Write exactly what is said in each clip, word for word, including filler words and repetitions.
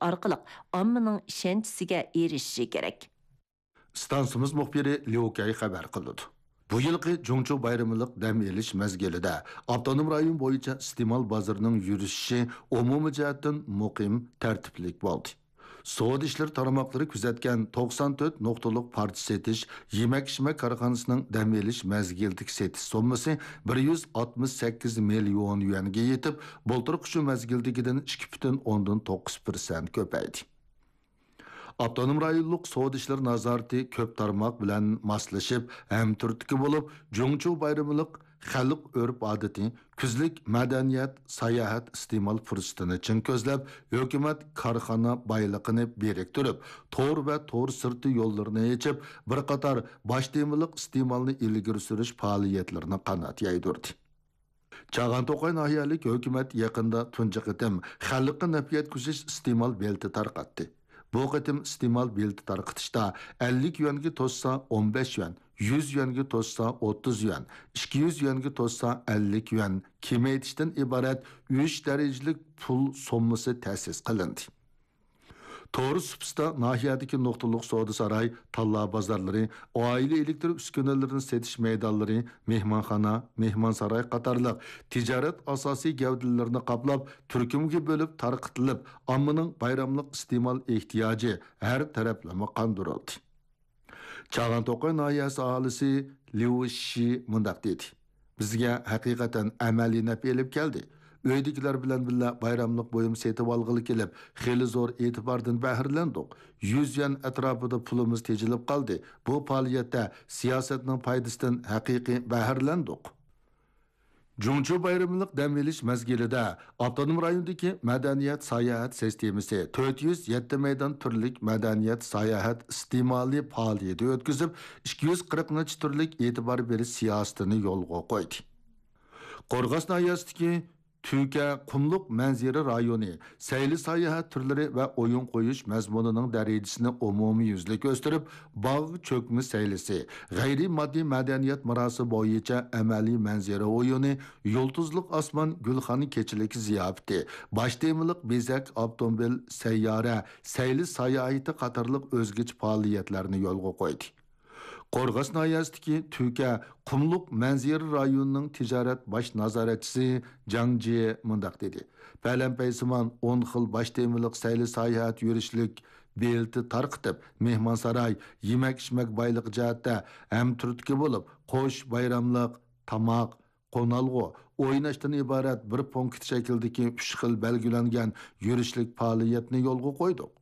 ئارقىلىق ئاممىنىڭ ئىشەنچىسىگە ئېرىشىشى كېرەك. ئىستانسىمىز مۇخبىرى ليۇ كەي خەۋەر قىلىدۇ. بۇ يىلقى جۇڭچۇ بايرىملىق دەم ئېلىش مەزگىلىدە ئاپتونوم رايون بويىچە ئىستېمال بازىرىنىڭ يۈرۈشۈشى ئومۇمىي جەھەتتىن مۇقىم، تەرتىپلىك بولدى. سودا ئىشلىرى تارماقلىرى كۆزەتكەن توقسان تۆت نۇقتىلىق پارچە سېتىش، يېمەك-ئىچمەك كارخانىسىنىڭ دەم ئېلىش مەزگىلىدىكى سېتىش سوممىسى بىر يۈز ئاتمىش سەككىز مىليون يۈەنگە يېتىپ، بۇلتۇرقى شۇ مەزگىلدىكىدىن ئىككى پۈتۈن ئوندىن توققۇز پىرسەنت كۆپەيدى. ئاپتونوم رايونلۇق سودا ئىشلىرى نازارىتى كۆپ تارماق بىلەن ماسلىشىپ، ھەمتۈرتكە بولۇپ، جۇڭچۇ بايرىملىق خەلق ئۆرپ-ئادىتى، كۈزلۈك مەدەنىيەت، ساياھەت ئىستېمال پۇرسىتىنى چىڭ كۆزلەپ، ھۆكۈمەت كارخانا بايلىقىنى بىرىكتۈرۈپ، تور ۋە تور سىرتى يوللىرىنى ئېچىپ، بىر قاتار باش تېمىلىق ئىستېمالنى ئىلگىرى سۈرۈش پائالىيەتلىرىنى قانات يايدۇردى. چاغان توقاي ناھىيەلىك ھۆكۈمەت يېقىندا تۇنجى قېتىم خەلققە نەپ يەتكۈزۈش ئىستېمال بېلىتى تارقاتتى. بۇ قېتىم ئىستېمال بېلىتى تارقىتىشتا ئەللىك يۈەنگە توشسا ئون بەش يۈەن، يۈز يۈەنگە توشسا ئوتتۇز يۈەن، ئىككى يۈز يۈەنگە توشسا ئەللىك يۈەن كېمەيتىشتىن ئىبارەت ئۈچ دەرىجىلىك پۇل سوممىسى تەسىس قىلىندى. تور سۇپىسىدا ناھىيەدىكى نۇقتىلىق سودا ساراي، تاللا بازارلىرى، ئائىلە ئېلېكتر ئۈسكۈنىلىرىنى سېتىش مەيدانلىرى، مېھمانخانا، مېھمانساراي قاتارلىق تىجارەت ئاساسىي گەۋدىلىرىنى قاپلاپ، تۈركۈمگە بۆلۈپ تارقىتىلىپ، ئاممىنىڭ بايراملىق ئىستېمال ئېھتىياجى ھەر تەرەپلىمە قاندۇرۇلدى. چاغان توقاي ناھىيەسى ئاھالىسى ليۇ شى مۇنداق دېدى: بىزگە ھەقىقەتەن ئەمەلىي نەپ ئېلىپ كەلدى. ئۆيدىكىلەر بىلەن بىللە بايراملىق بۇيۇم سېتىۋالغىلى كېلىپ، خېلى زور ئېتىباردىن بەھرىلەندۇق. يۈز يۈەن ئەتراپىدا پۇلىمىز تېجىلىپ قالدى. بۇ پائالىيەتتە سىياسەتنىڭ پايدىسىدىن ھەقىقىي بەھرىلەندۇق. جۇڭچۇ بايرىملىق دەم ئېلىش مەزگىلىدە ئاپتونوم رايوندىكى مەدەنىيەت ساياھەت سىستېمىسى تۆت يۈز يەتتە مەيدان تۈرلۈك مەدەنىيەت ساياھەت ئىستېمالى پائالىيىتى ئۆتكۈزۈپ، ئىككى يۈز قىرىق نەچچە تۈرلۈك ئېتىبار بېرىش سىياسىتىنى يولغا قويدى. قورغاس ناھىيەسىدىكى تۈكە قۇملۇق مەنزىرە رايونى سەيلە ساياھەت تۈرلىرى ۋە ئويۇن قويۇش مەزمۇنىنىڭ دەرىجىسىنى ئومۇميۈزلۈك ئۆستۈرۈپ، باغ چۆكمە سەيلىسى، غەيرىي ماددىي مەدەنىيەت مىراسى بويىچە ئەمەلىي مەنزىرە ئويۇنى، يۇلتۇزلۇق ئاسمان، گۈلخان كېچىلىك زىياپىتى، باش تېمىلىق بېزەك، ئاپتوموبىل، سەييارە، سەيلە ساياھىتى قاتارلىق ئۆزگىچە پائالىيەتلەرنى يولغا قويدى. قورغاس ناھىيەسىدىكى تۈكە قۇملۇق مەنزىرە رايونىنىڭ تىجارەت باش نازارەتچىسى جاڭ جيې مۇنداق دېدى: پەلەمپەيسىمان ئون خىل باش تېمىلىق سەيلە ساياھەت يۈرۈشلۈك بېلىتى تارقىتىپ، مېھمانساراي، يېمەك-ئىچمەك بايلىقى جەھەتتە ھەمتۈرتكە بولۇپ، قوش بايراملىق، تاماق، قونالغۇ، ئويناشتىن ئىبارەت بىر پونكىت شەكلىدىكى ئۈچ خىل بەلگىلەنگەن يۈرۈشلۈك پائالىيەتنى يولغا قويدۇق.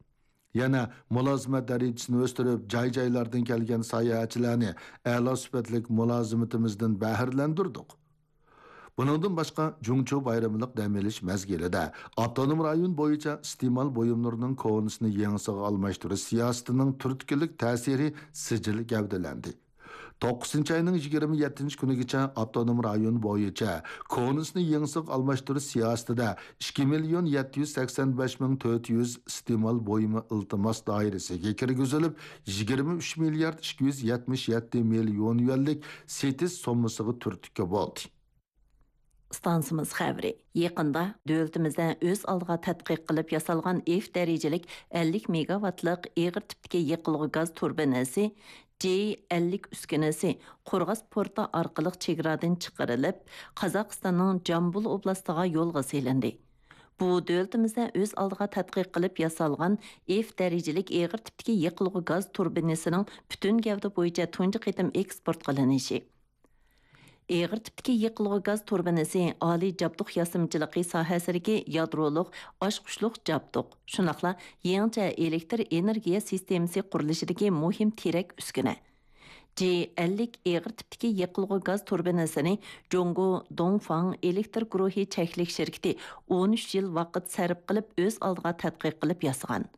يەنە مۇلازىمەت دەرىجىسىنى ئۆستۈرۈپ، جاي-جايلاردىن كەلگەن ساياھەتچىلەرنى ئەلا سۈپەتلىك مۇلازىمىتىمىزدىن بەھرىلەندۈردۇق. بۇنىڭدىن باشقا، جۇڭچۇ بايرىملىق دەم ئېلىش مەزگىلىدە ئاپتونوم رايون بويىچە ئىستېمال بۇيۇملىرىنىڭ كونىسىنى يېڭىسىغا ئالماشتۇرۇش سىياسىتىنىڭ تۈرتكىلىك تەسىرى سىجىل گەۋدىلەندى. توققۇزىنچى ئاينىڭ يىگىرمە يەتتىنچى كۈنىگىچە ئاپتونوم رايون بويىچە كونىسىنى يېڭىسىغا ئالماشتۇرۇش سىياسىتىدە ئىككى مىليون يەتتە يۈز سەكسەن بەش مىڭ تۆت يۈز ئىستېمال بۇيۇمى ئىلتىماس دائىرىسىگە كىرگۈزۈلۈپ، يىگىرمە ئۈچ مىليارد ئىككى يۈز يەتمىش يەتتە مىليون يۈەنلىك سېتىش سوممىسىغا تۈرتكە بولدى. ئىستانسىمىز خەۋىرى. يېقىندا دۆلىتىمىزدە ئۆز ئالدىغا تەتقىق قىلىپ ياسالغان ئېف دەرىجىلىك ئەللىك مېگاۋاتلىق ئېغىر تىپتىكى يېقىلغۇ گاز تۇربىنىسى جى ئەللىك ئۈسكۈنىسى قورغاس پورتى ئارقىلىق چېگرادىن چىقىرىلىپ، قازاقىستاننىڭ جامبۇل ئوبلاستىغا يولغا سېلىندى. بۇ دۆلىتىمىزدە ئۆز ئالدىغا تەتقىق قىلىپ ياسالغان ئېف دەرىجىلىك ئېغىر تىپتىكى يېقىلغۇ گاز تۇربىنىسىنىڭ پۈتۈن گەۋدە بويىچە تۇنجى قېتىم ئېكسپورت قىلىنىشى. ئېغىر تىپتىكى يېقىلغۇ گاز تۇربىنىسى ئالىي جابدۇق ياسىمىچىلىقى ساھەسىدىكى يادرولۇق ئاچقۇچلۇق جابدۇق، شۇنداقلا يېڭىچە ئېلېكتر ئېنېرگىيە سىستېمىسى قۇرۇلۇشىدىكى مۇھىم تىرەك ئۈسكۈنە. جى ئەللىك ئېغىر تىپتىكى يېقىلغۇ گاز تۇربىنىسىنى جۇڭگو دوڭفاڭ ئېلېكتر گۇرۇھى چەكلىك شىركىتى ئون ئۈچ يىل ۋاقىت سەرپ قىلىپ، ئۆز ئالدىغا تەتقىق قىلىپ ياسىغان.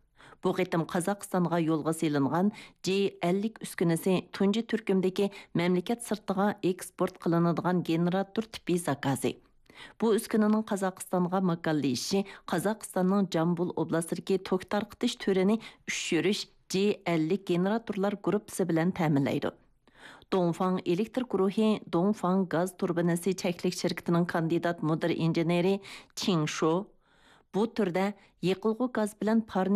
بۇ قېتىم قازاقىستانغا يولغا سېلىنغان جى ئەللىك ئۈسكۈنىسى تۇنجى تۈركۈمدىكى مەملىكەت سىرتىغا ئېكسپورت قىلىنىدىغان گېنېراتور تىپى زاكازى. بۇ ئۈسكۈنىنىڭ قازاقىستانغا ماكانلىشىشى قازاقىستاننىڭ جامبۇل ئوبلاستىدىكى توك تارقىتىش تۈرىنى ئۈچ يۈرۈش جى ئەللىك گېنېراتورلار گۇرۇپپىسى بىلەن تەمىنلەيدۇ. دوڭفاڭ ئېلېكتر گۇرۇھى دوڭفاڭ گاز تۇربىنىسى چەكلىك شىركىتىنىڭ كاندىدات مۇدىر ئىنژېنېرى چىڭ شو بۇ تۈردە يېقىلغۇ گاز بىلەن پارنى